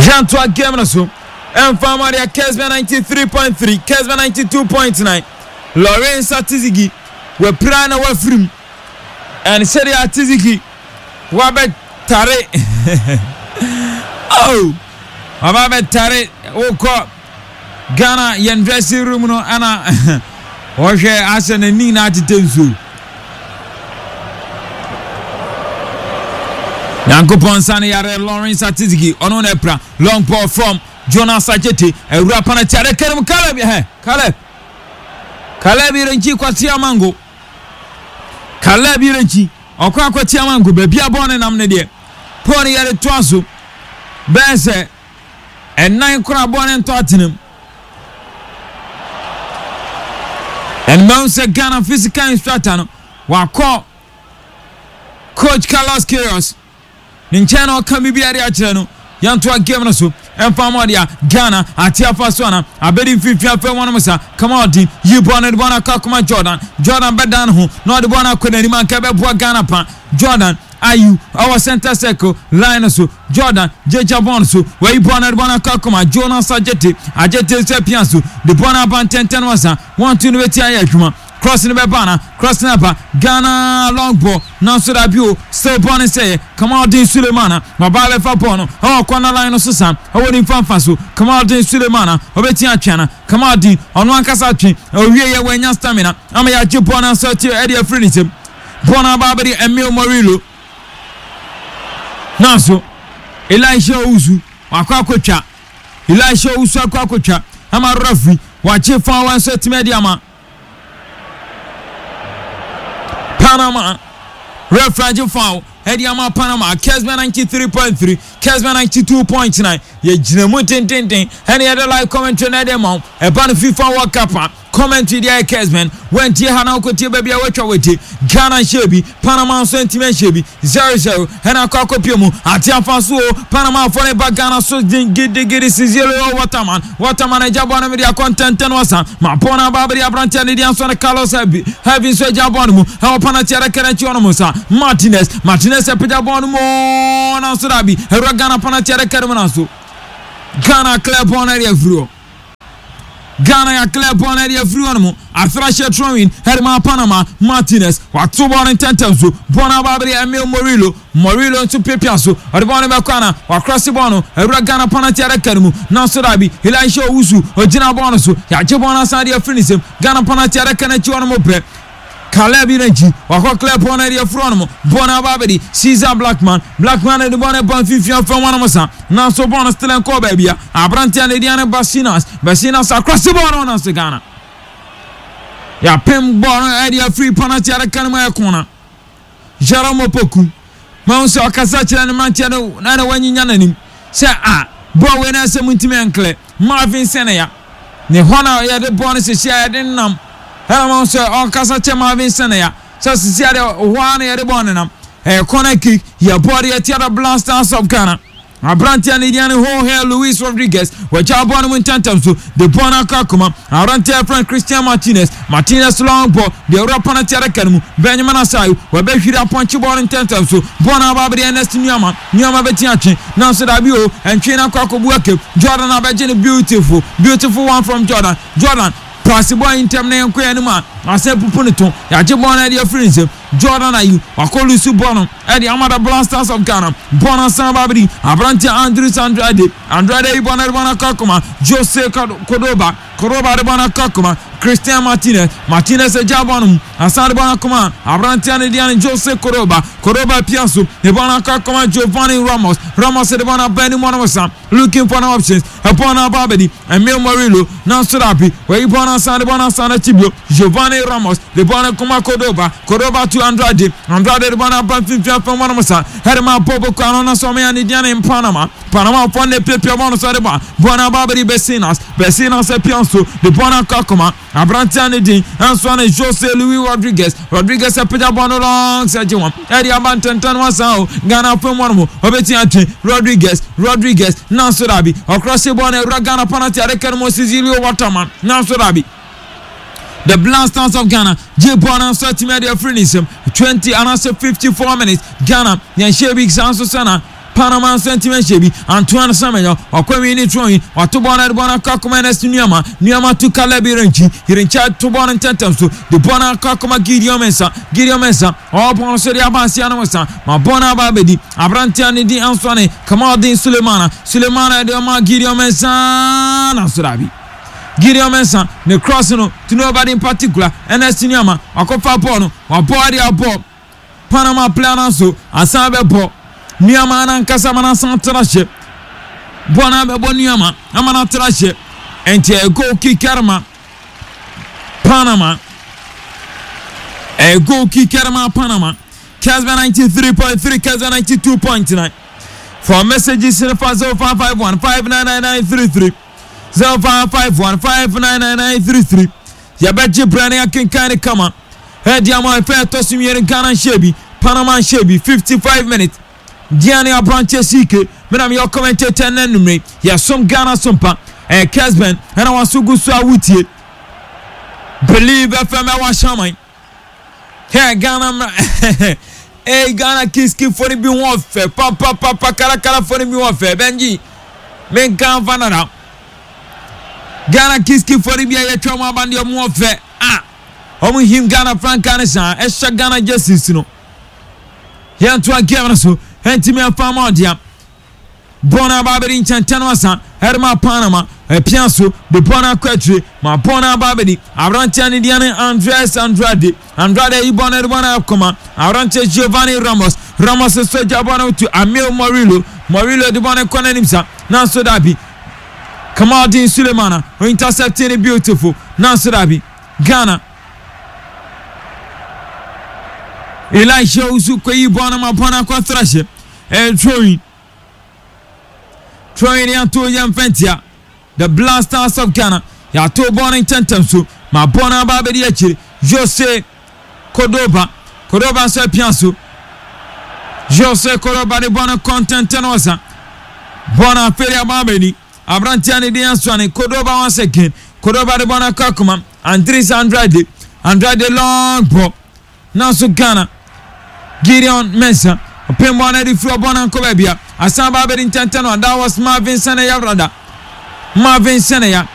Yɛntoa game no so ɛmfa ma deɛ Kesben 93.3, Kesben 92.9. Lawrence Atizigi wapira na wafirim. And sɛdeɛ Atizigi wabɛtare oh waba bɛtare wokɔ Ghana yɛn dressing room no ɛna wɔhwɛ asɛ n'ani nyinaa tetɛ nsuo. Nyankopɔn nsa no yare Lawrence Atizigi ɔno na ɛpra long ball from Jonas Ajete awura panati adaka no mu Caleb ɛhɛ Caleb Caleb Irenkyi Kwasi Amango Caleb Irenkyi ɔkɔ akwati Amango baabi a bɔɔl no nam no deɛ bɔɔl no yɛde toa so bɛyɛ sɛ ɛnan koraa bɔɔl no ntɔ atenam ɛnum sɛ Ghana physical instructor no wakɔ coach Carlos Queiroz ne nkyɛn na ɔka biribi de akyerɛ no. Yɛntoa game no so ɛmfa ma ɔde a Ghana ate afa so ana abɛdi mfimfini afei wɔn sa kama ɔden yi bɔɔl no de bɔɔl no akɔ akoma Jordan. Jordan bɛdan ne ho na ɔde bɔɔl no akɔ n'anim anka ɛbɛboa Ghana pa. Jordan Ayew ɛwɔ center circle line no so. Jordan gyagya bɔɔl no so wayi bɔɔl no de bɔɔl no akɔ akoma Jonas Adjetey. Adjetey nso apia so de bɔɔl no aba ntɛntɛn wasa 1-2 no bɛti ayɛ adwuma. Cross no bɛba ana? Cross no aba. Ghana long ball. Nanso dabi o, still bɔɔl no sɛeɛ. Kamaldeen Sulemana, waba abɛfa bɔɔl no ɛwɔ corner line no so san ɛwɔ ne mfa mfa so. Kamaldeen Sulemana, ɔbɛtumi atwe ana? Kamaldeen, ɔno ankasa atwe. Ɔwieɛ wanya stamina ama yɛagye bɔɔl no nso ati ɛde afiri ne nsam. Bɔɔl no aba abɛdi Emil Murillo. Nanso Elisha Owusu wakɔ akɔtwa. Elisha Owusu akɔ akɔtwa ama referee wagye foul nso atumi adi ama. Panama referee foul ɛde ama Panama. Kesben 93.3, Kesben 92.9. Yɛgyina mu dendenden ɛne yɛde live commentary na ɛde ma wo. Ɛba no FIFA World Cup a commentary deɛ ayɛ Kesben. Wantie ha na wokɔtie baabi a watwa wate. Ghana nhyɛ bi, Panama nso ntumi nhyɛ bi. 0-0 ɛna akɔ akɔpie mu. Ate afa so o, Panama afɔ ne ba Ghana so gidigidi. Cecilio Waterman, Waterman agya bɔɔl no mede akɔ ntɛntɛn wasa ma bɔɔl no aba abɛde aberanteɛ ne deɛ nso ne Carlos Heavy Heavy nso agya bɔɔl no mu ɛwɔ penalty adaka no akyi hɔ nom sa Martinez Martinez apagya bɔɔl no mu nanso dabi awura Ghana penalty adaka no mu nanso Ghana clear bɔɔl no ɛde afiri hɔ. Ghana yɛ clear bɔɔl no de afiri hɔ nom. Afra hyɛ throwing ɛde ma Panama. Martinez wato bɔɔl no ntɛntɛm so. Bɔɔl no aba abɛde Emil Murillo. Murillo nso piapia so. Ɔde bɔɔl no bɛkɔ ana? Wakrɔse bɔɔl no awura Ghana penalty adaka no mu. Nanso daabi, Elisha Owusu ogyina bɔɔl no so. Yɛagye bɔɔl no asan de afiri ne nsam. Ghana penalty adaka no akyi hɔ nom pɛ. Caleb Iranchi wakɔ clear bɔɔl no de afiri hɔ nom. Bɔɔl no aba abɛdi Cesar Blackman. Blackman de bɔɔl no ba mfimfini afam hɔ nom sa. Nanso bɔɔl no still nkɔɔ baabi a. Aberanteɛ a ne din ne Basinas. Basinas akrɔse bɔɔl no nanso Ghana. Yɛapem bɔɔl no de afiri penalty adaka no mu ayɛ kɔna. Jerome Opoku mahu sɛ ɔkasa kyerɛ ne mmeranteɛ no na na wanyinya n'anim sɛ a bɔɔl wei na sɛ muntumi ɛnklɛ Marvin Senaya ne hɔ na yɛde bɔɔl no sisi a yɛde nam ɛna mahu sɛ ɔkasa kyerɛ Marvin Senaya sɛ sisi a deɛ hɔ ara na yɛde bɔɔl no nam. Ɛyɛ corner kick yɛ bɔɔl de atia the Black Stars of Ghana. Aberanteɛ a ne din ne Jorge Luis Rodriguez, wagya bɔɔl no mu ntɛmntɛm so de bɔɔl no akɔ akoma. Aberanteɛ a yɛfrɛ no Christian Martinez, Martinez long ball de awura penalty adaka no mu. Benjamin Asai, wabɛhwiri apɔnkye bɔɔl no ntɛmntɛm so. Bɔɔl no aba abɛde Ernest Nuamah, Nuamah bɛtumi atwe, nanso dabi o, ɛntwe no akɔ akɔbu akam. Jordan abɛgye no beautiful, beautiful one from Jordan. Jordan, paase bɔɔl yi ntɛm na yɛnkɔ yɛn anim a, asan apupu ne to. Yɛagye bɔɔl no de afiri ne nsam. Jordan Ayew wakɔ lusu bɔɔl no de ama the Black Stars of Ghana. Bɔɔl no asan aba abɛdi aberanteɛ Andres Andrade. Andrade ayi bɔɔl no de bɔɔl no akɔ akoma Jose Cordoba. Cordoba de bɔɔl no akɔ akoma Christian Martinez. Martinez agya bɔɔl no mu asan de bɔɔl no akoma aberanteɛ no deɛ no Jose Cordoba. Cordoba pia so de bɔɔl no akɔ akoma Giovanni Ramos. Ramos de bɔɔl no aba anim hɔ nom sa looking for an options. Ɛbɔɔl no aba abɛdi Emil Murillo nanso dabi wayi bɔɔl no asan de bɔɔl no asan akyi bio. Giovanni Ramos de bɔɔl no kɔma Cordoba, Cordoba to Andrade, Andrade de bɔɔl no aba mfimfini afam hɔnom sa ɛde ma Bobo Kano na sɛ ɔmɛya ne deɛ ne Panama, Panama fɔ ne piapia bɔɔl no so ɛde ba bɔɔl no aba abɛdi Bessinas, Bessinas apia nso de bɔɔl no akɔ akɔma aberanteɛ a ne din nso ne Jose Luis Rodriguez, Rodriguez apagya bɔɔl no long sɛ gye wɔn ɛde aba ntɛntɛn no asan o Ghana afam hɔnom ɔbɛtumi atwe Rodriguez, Rodriguez nanso dabi ɔkrɔse bɔɔl no awura Ghana penalty adaka no mu Cecilio Waterman nanso dabi. The Black Stars of Ghana gye bɔɔl no nso atumi de afiri ne nsam 20 anaasɛ 54 minutes. Ghana yɛn hyɛ bi saa nso sɛ na. Panama nso antumi anhyɛ bi. Antoine Semenyo, wakɔ nwi ne turo wato bɔɔl no de bɔɔl no akɔ akɔma Ernest Nuamah. Nuamah to Caleb Yirenkyi. Yirenkyi ato bɔɔl no ntɛmntɛm so de bɔɔl no akɔ akɔma Gideon Mensah. Gideon Mensah, ɔwɔ bɔɔl no so de aba aseɛ no sa ma bɔɔl no aba abɛdi aberanteɛ a ne din nso ne Kamaldeen Sulemana. Sulemana de ɔma Gideon Mensah nanso daabi. Gideon Mensah ne cross no to nobody in particular. Ernest Nuamah wakɔfa bɔɔl no, wabɔ de abɔ Panama player no so asan bɛbɔ Nuamah no ankasa ma no asan tra hyɛ. Bɔɔl no abɛbɔ Nuamah ama no atra hyɛ. Ɛnti ɛyɛ goal kick ma Panama. Ɛyɛ goal kick ma Panama. Kesben 93.3, Kesben 92.9. For messages fa 0551 599933 0551 599933. Yɛbɛgye berɛ ne akenkan ne kama. Ɛdi ama ɛfɛ ɛtɔ so mmienu Ghana nhyɛ bi, Panama nhyɛ bi, 55 minutes. Diane aberanteɛ CK, me na meyɛ commentator nnɛ anwummere. Yɛsom Ghana so mpa. Ɛyɛ Kesben ɛna waso gu so a wotie. Believe FM ɛwɔ Ahyɛnman. Hɛ Ghana mmra. Hey Ghana kiski fo no bi ho ɔfɛ papapapa karakara fo no bi ho ɔfɛ Benji menka mfa nana. Ghana kiski fo no bi a yɛtwa wɔn aba deɛ wɔn ɔfɛ a wɔn him Ghana frankaa no saa ɛhyɛ Ghana jerseys no. Yɛntoa game no so ɛntumi ɛmfa ama ɔdea. Bɔɔl no aba abɛdi nkyɛntɛn no asa ɛrema Panama ɛpia so de bɔɔl no akɔ akyire ma bɔɔl no aba abɛdi aberanteɛ ne deɛ ne Andres Andrade. Andrade ayi bɔɔl no de bɔɔl no akɔma aberanteɛ Giovanni Ramos. Ramos nso agya bɔɔl no to Amil Murillo. Murillo de bɔɔl no kɔ n'anim sa nanso dabi. Kamaldeen Sulemana intercepting no beautiful nanso dabi. Ghana Elisha Owusu kɔyi bɔɔl no ma bɔɔl no akɔtra hyɛ. Ɛyɛ throwing. Throwing ne ato yɛ mfɛntia. The Black Stars of Ghana yɛato bɔɔl no ntɛntɛm so ma bɔɔl no aba abɛdi akyire. Jose Cordoba. Cordoba nso apia so. Jose Cordoba de bɔɔl no kɔ ntɛntɛn ɔsa. Bɔɔl no afei de aba abɛdi. Aberanteɛ no de asuane Cordoba once again. Cordoba de bɔɔl no akɔ akoma. Andres Andrade. Andrade long ball. Nanso Ghana Gideon Mensah ɔpem bɔɔl no de firi ɔbɔ no ankɔ baabi a asan ba abɛdi ntɛntɛn no. That was Marvin Seneya rather. Marvin Seneya.